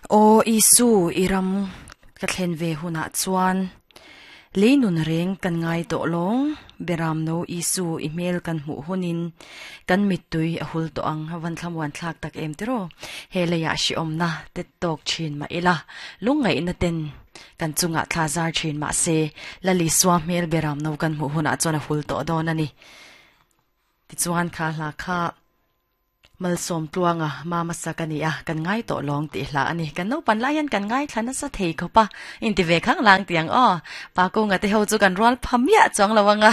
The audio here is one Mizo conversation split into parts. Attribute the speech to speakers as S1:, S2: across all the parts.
S1: Aw Isu i ram ka thlen ve hunah chuan lei nun reng kan ngai tawh lawng, Beramno Isu i hmel kan hmuh hunin kan mittui a hul tawh ang, van thlamuan thlak tak em tiraw? He leiah hrehawmna te tawk thin mah ila, lungngaihna ten kan chungah thla zar thin mah se, Lal Isua hmel Beramno kan hmuh hunah chuan a hul tawh dawn a ni. Tichuan kha hla kha. Malsawm tluanga mama sak a ni a, kan ngai tawh lawng tih hla a ni. Kan naupan lai hian kan ngaithla nasa thei khawp a, inti ve khang lang tih ang aw. Pa Kunga te ho chu kan rual pha miah chuang lo ang a.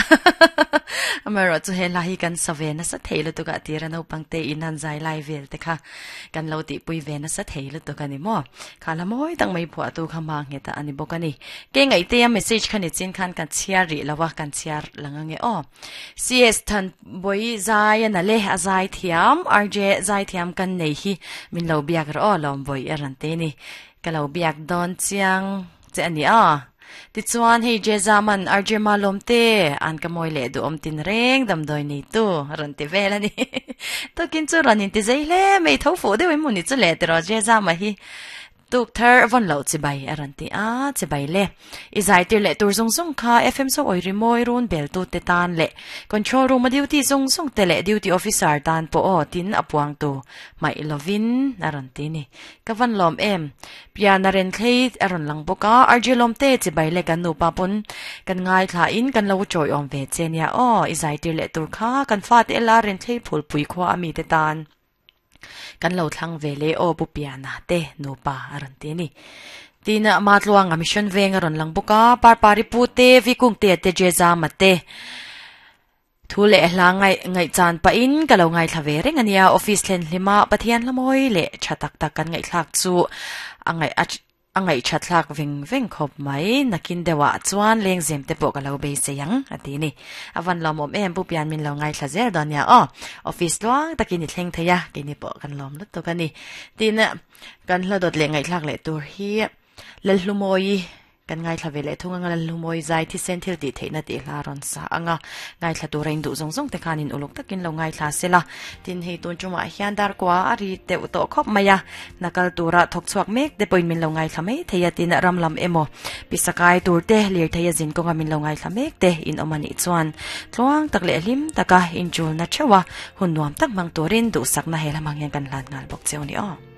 S1: Amaherawh chu he hla hi kan sa ve nasa thei lutuk a, tira naupang te in han zai lai vel te kha kan lo tihpui ve nasa thei lutuk a ni maw. Kha hla mawi tak mai phuahtu kha hma nghet a ni bawk a ni. Kei ngaihtea message kha ni chin khan kan chhiar rih lo a, kan chhiar lang ange aw. CS Thanbawi zai a na le, a zai thiam, RJ zai thiam kan nei hi min lo biak rawh aw Lawmbawi a rawn ti ni. Ka lo biak dawn chiang che a ni a. Tichuan hei J Zaman RJ Malawmte an ka mawi leh duhawm tin reng damdawi neitu a rawn ti vel a ni. Tukin chu rawn inti zei hle mai tho fuh deuh in hmun i chu leh tiraw J Zama hi. Tuk thar vawn loh chibai a rawn ti a, chibai le. I zai tir leh tur zung zung kha FM so awi rimawi run bel tu te tan leh control room a duty zung zung te leh duty officer tan pawh aw tin a puang tu hmaih lovin a rawn ti ni. Ka van lawm em. Pian a ren thlei a rawn lang bawk a, RG lawm te chibai le kan nupa pawn kan ngaithla in kan lo chawi awm ve che nia aw, i zai tir leh tur kha kan fate ela ren thlei phulpui khua a mi te tan. Kan lo thlang ve le aw Pu Piana te nupa a rawn ti a ni. Tin ama tluanga mission veng a rawn lang bawk a, Parpari pu te, Vikungtea te, Jezama te thu leh hla ngaih ngaihchan pahin ka lo ngaithla ve reng a nia. Office thlen hlima Pathian hla mawi leh tha tak tak kan ngaihthlak chu a ngaih a A ngaihṭhat hlak veng veng khawp mai, nakin deuhah chuan lengzem te pawh ka lo beisei ang, a ti ni. A van lawmawm em, Pu Pian min lo ngaithla zel dawn nia aw. Office tluang takin i thleng thei a, keini pawh kan lawm lutuk a ni. Tin, kan hla dawt leh ngaihthlak leh tur hi Lalhlumawi kan ngaithla ve leh thung anga Lalhlumawi zai thisen thil tih theihna tih hla rawn sa anga ngaithla tura in duh zawng zawng te khanin uluk takin lo ngaithla sela. Tin, hei tun tumah hian darkua a ri deuh tawh khawp mai a, hna kal tura thawk chhuak mek te pawhin min lo ngaithla mai thei a, tin ram lam emaw pisakai tur te lirthei a zin kawnga min lo ngaithla mek te in awm a nih chuan tluang tak leh hlim taka inchulna theuh a hun nuam tak hmang turin duhsakna he lamang hian kan hlan nghal bawk cheu ni aw.